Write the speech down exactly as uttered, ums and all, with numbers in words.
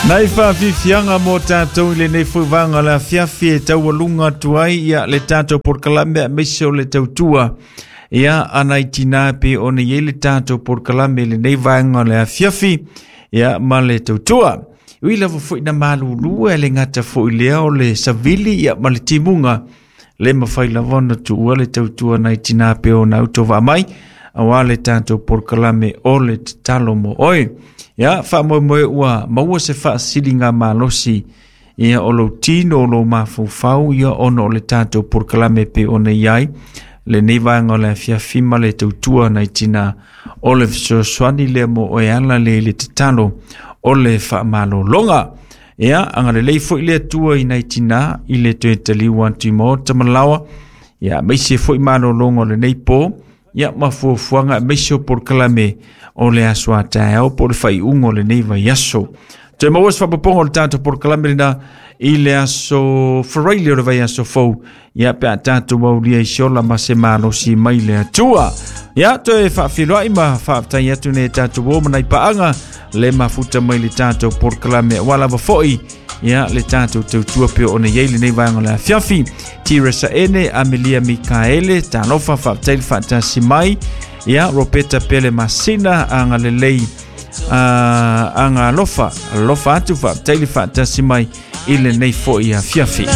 Nai faafiafiaga mo tatou i lenei foi vaega o le afiafi e taualuga atu ai ia le tatou polokalame aemaise o le tautua ia a nai tinā pei ona i ai le tatou polokalame i lenei vaega o le afiafi ia ma le tautua. Ui lava foi na malulu e le gata foi lea o le savili ia ma le timuga le mafai lava ona tuua le tautua nai tinā pei ona autovaa mai aua le tatou polokalame o le tatalo mo oe. Ia faamoemoe ua maua se faasiliga malosi ia o lou tino o lou mafaufau ia ona o le tatou polokalame pei ona i ai lenei vaega o le afiafi ma le tautua nai tinā o le fesoasoani lea mo oe ala le i le tatalo o le faamalologa. Ia agalelei foi le Atua i nai tinā i le toe taliu atu i maota ma laoa ia aemaise foi malologa o lenei po ia ma fuafuaga aemaise o polokalame o le aso a taeao po o le faaiuga o lenei vaiaso. Toe maua se faaopoopoga o le tatou polokalame lena i le aso Faraile o le vaiaso fou ia pe a tatou aulia i se ola ma se malosi mai le Atua. Ia toe faafeiloai ma faafetai atu nei tatou o ma nai paaga le mafuta mai le tatou polokalame aua lava foi ia le tatou tautua pei ona i ai lenei vaega o le afiafi. Tiresa Ene, Amelia Mikaele, talofa faafetai le faatasi mai. Ia Roberta Pele Masina, agalelei uh, aga alofa alofa atu faafetai le faatasi mai i lenei foi afiafi.